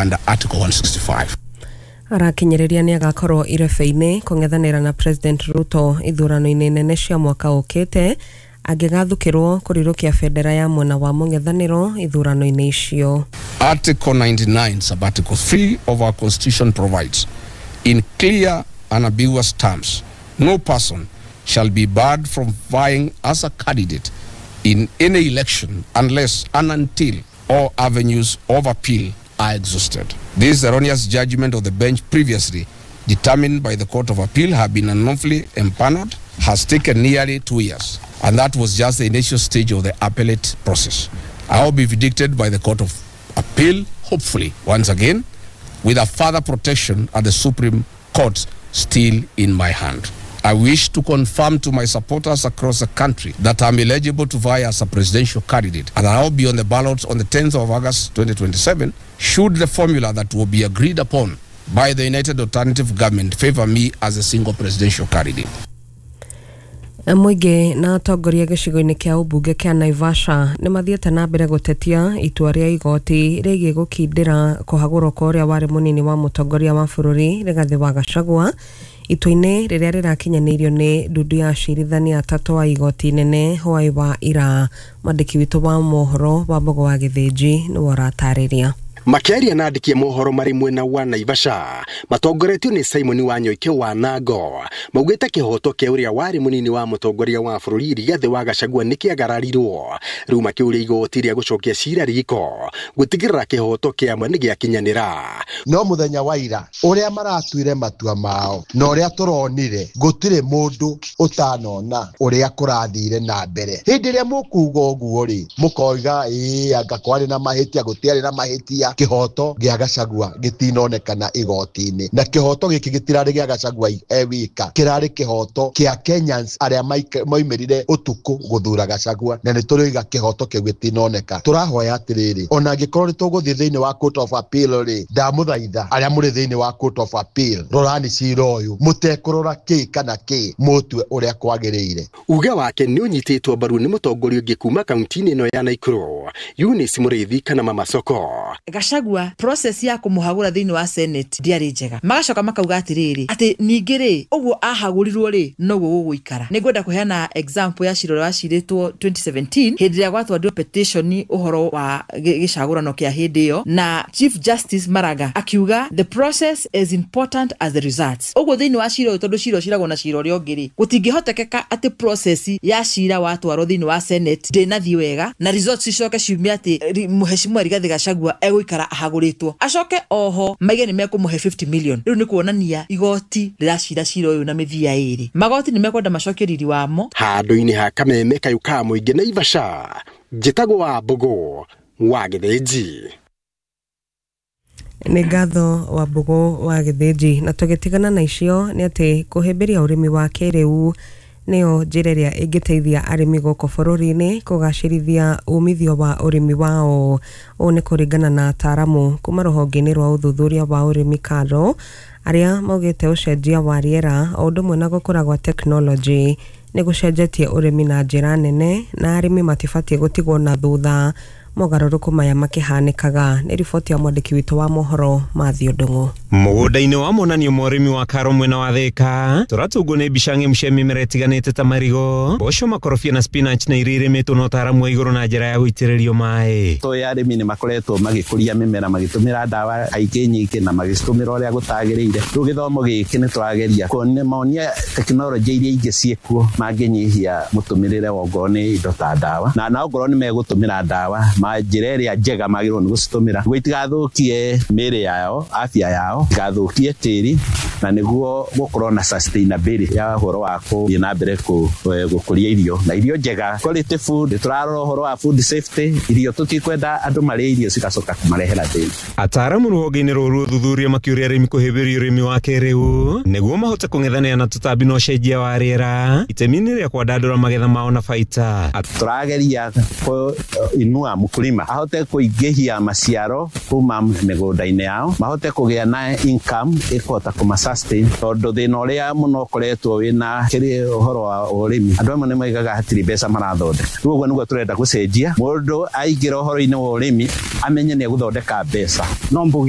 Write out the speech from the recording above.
under Article 165. Arakinyĩrĩria nĩ agakorwo irebe-inĩ kũng'ethanĩra na President Ruto ithurano-inĩ nene cia mwaka ũkĩte angĩgathukĩrwo kũrirũkia bendera ya mwena wa mũng'ethanĩro ithurano-inĩ icio. Article 99, sub-article 3 of our Constitution provides, in clear and ambiguous terms, no person shall be barred from vying as a candidate in any election unless and until all avenues of appeal are exhausted. This erroneous judgment of the bench previously determined by the Court of Appeal have been unlawfully empaneled has taken nearly 2 years, and that was just the initial stage of the appellate process. I will be vindicated by the Court of Appeal, hopefully, once again, with a further protection at the Supreme Court still in my hand. I wish to confirm to my supporters across the country that I'm eligible to vie as a presidential candidate and I will be on the ballot on the 10th of August 2027 should the formula that will be agreed upon by the United Alternative Government favor me as a single presidential candidate. Mũingĩ na atongoria gĩcigo-inĩ kĩa ũmbunge kĩa Naivasha nĩ mathiĩte na mbere gũtetia itua rĩa igoti rĩgiĩ gũkindĩra kũhagũrwo kwa ũrĩa warĩ mũnini wa mũtongoria wa bũrũri Rigathĩ wa Gachagua, itua-inĩ rĩrĩa rĩrakinyanĩirio nĩ ndundu ya acirithania atatũ a igoti inene hwaĩ wa ira. Mwandĩki witũ wa mohoro wa Mbogo wa Gĩthĩnji nĩwe ũratarĩria. Makĩaria na andĩki a mohoro marĩ mwena wa Naivasha matongoretio nĩ Simon Wanyoike wa Nango, maugĩte kĩhoto kĩa ũrĩa warĩ mũnini wa mũtongoria wa bũrũri Rigathĩ wa Gachagua nĩ kĩagararirwo. Rĩu makĩũria igoti rĩa gũcokia cira riko gũtigĩrĩra kĩhoto kĩa ma nĩ gĩakinyanĩra. No mũthenya wa ira ũrĩa maratuire matua mao na ũrĩa tũronire, gũtirĩ mũndũ ũtanona ũrĩa kũrathire na mbere. Hĩndĩ ĩrĩa mũkuga ũguo rĩ, mũkoiga ĩĩ, anga kwarĩ na mahĩtia, gũtiarĩ na mahĩtia. Kĩhoto gĩa Gachagua gĩtinonekana igoti-inĩ, na kĩhoto gĩkĩ gĩtirarĩ gĩa Gachagua e wika, kĩrarĩ kĩhoto kĩa Kenyans arĩa maumĩrire ũtukũ gũthura Gachagua, na nĩ tũrĩiga kĩhoto kĩu gĩtinoneka. Tũrahoya atĩrĩrĩ, ona angĩkorwo nĩ tũgũthiĩ thĩinĩ wa Court of Appeal rĩ, ndamũthaitha arĩa mũrĩ thĩinĩ wa Court of Appeal, rorani cira ũyũ mũtekũrora kĩ kana kĩ, mũtue ũrĩa kwagĩrĩire. Uge wake nĩ ũnyitĩtwo mbaru nĩ mũtongoria ũngĩ kuma kaunti-inĩ ĩno ya Naikuru, Eunice Mũrĩithi kana Mama Soko. Gachagua, process ya kũmũhagũra thĩinĩ wa Senate ndiarĩ njega. Magacoka makauga atĩrĩrĩ, atĩ ningĩ rĩ, ũguo ahagũrirwo rĩ, noguo gũgũikara. Nĩ ngwenda kũheana example ya cira ũrĩa wacirĩtwo 2017, hĩndĩ ĩrĩa gwatwarirwo petition ũhoro wa gĩcagũrano kĩa hĩndĩ ĩyo, na Chief Justice Maraga akiuga, "The process is important as the results." Ũguo thĩinĩ wa cira ũyũ, tondũ cira ũciragwo na cira ũrĩa ũngĩ rĩ, gũtingĩhotekeka atĩ process ya cira watwarwo thĩinĩ wa Senate ndĩnathiĩ wega na results icoke ciume atĩ Mheshimiwa Rigathĩ Gachagua egũikara ahagũrĩtwo, acoke oho maige nĩ mekũmũhe 50 million. Rĩu nĩ kuonania igoti rĩracira cira ũyũ na mĩthia ĩrĩ. Magoti nĩ mekwenda macokie riri wamo. Handũ-inĩ ha kameme kayũ ka mũingĩ Naivasha, njĩtagwo wa Mbũgũ wa Gĩthĩnji. Nĩ ngatho wa Mbũgũ wa Gĩthĩnji. Na tũgĩtigana na icio nĩ atĩ kũhĩmbĩria ũrĩmi wa kĩrĩu nĩyo njĩra ĩrĩa ĩngĩteithia arĩmi gũkũ bũrũri-inĩ kũgacĩrithia umithio wa ũrĩmi wao. Ũũ nĩ kũringana na ataaramu kuma rũhonge-inĩ rwa ũthuthuria wa ũrĩmi KALRO, arĩa maugĩte ũcenjia wa rĩera o ũndũ ũmwe na gũkũra gwa tekinoronjĩ nĩ gũcenjetie ũrĩmi na njĩra nene, na arĩmi matibatiĩ gũtigwo na thutha mogarũrũku maya makĩhanĩkaga. Nĩ riboti ya mwandĩki witũ wa mohoro Mathew Ndung'u. Mũgũnda-inĩ wa monanio ma ũrĩmi wa KALRO mwena wa Thĩka, tũratũngwo nĩ mbica ng'emu cia mĩmera ĩtiganĩte ta marigũ, mboco, makorobia na spinach, na iria irĩmĩtwo na ũtaaramu wa igũrũ na njĩra ya gũitĩrĩrio maĩ. Tũĩ arĩmi nĩ makoretwo magĩkũria mĩmera magĩtũmĩra ndawa kaingĩ nyingĩ na magĩcitũmĩra ũrĩa gũtagĩrĩire. Rĩu gĩthomo gĩkĩ nĩ tũrageria kuonia tekinoronjĩ iria ingĩ ciĩkuo mangĩnyihia mũtũmĩrĩre wa ongorwo nĩ indo ta ndawa, na ongorwo nĩ megũtũmĩra ndawa ma njĩra ĩrĩa njega magĩrĩirwo nĩ gũcitũmĩra nĩguo itigathũkie mĩĩrĩ yao, afya yao, itigathũkie tĩri, na nĩguo gũkorwo na sustainability ya ũhoro wa gũthiĩ na mbere gũkũria irio na irio njega, quality food. Tũrarora ũhoro wa food safety, irio tũtikwenda andũ marĩe irio cigacoka kũmarehera thĩna. Ataaramu rũhonge-inĩ rũrũ ũthuthuria makĩũria arĩmi kũhĩmbĩria ũrĩmi wa kĩrĩu nĩguo mahote kũng'ethanĩra na tũtambi na ũcenjia wa rĩera itemi-inĩ rĩa kwandandũra magetha mao na baita. Tũrageria kũinua mũkulima ahote kũingĩhia maciaro kuma mĩgũnda-inĩ yao, mahote kũgĩa na income ĩkũhota kũma sustain, tondũ thĩna ũrĩa mũno ũkoretwo wĩna kĩrĩ ũhoro wa ũrĩmi, andũ amwe nĩ moigaga hatirĩ mbeca marathondeka. Rĩu ũguo nĩguo tũrenda gũcenjia, mũndũ aingĩra ũhoro-inĩ wa ũrĩmi amenye nĩ egũthondeka mbeca. No mbuge.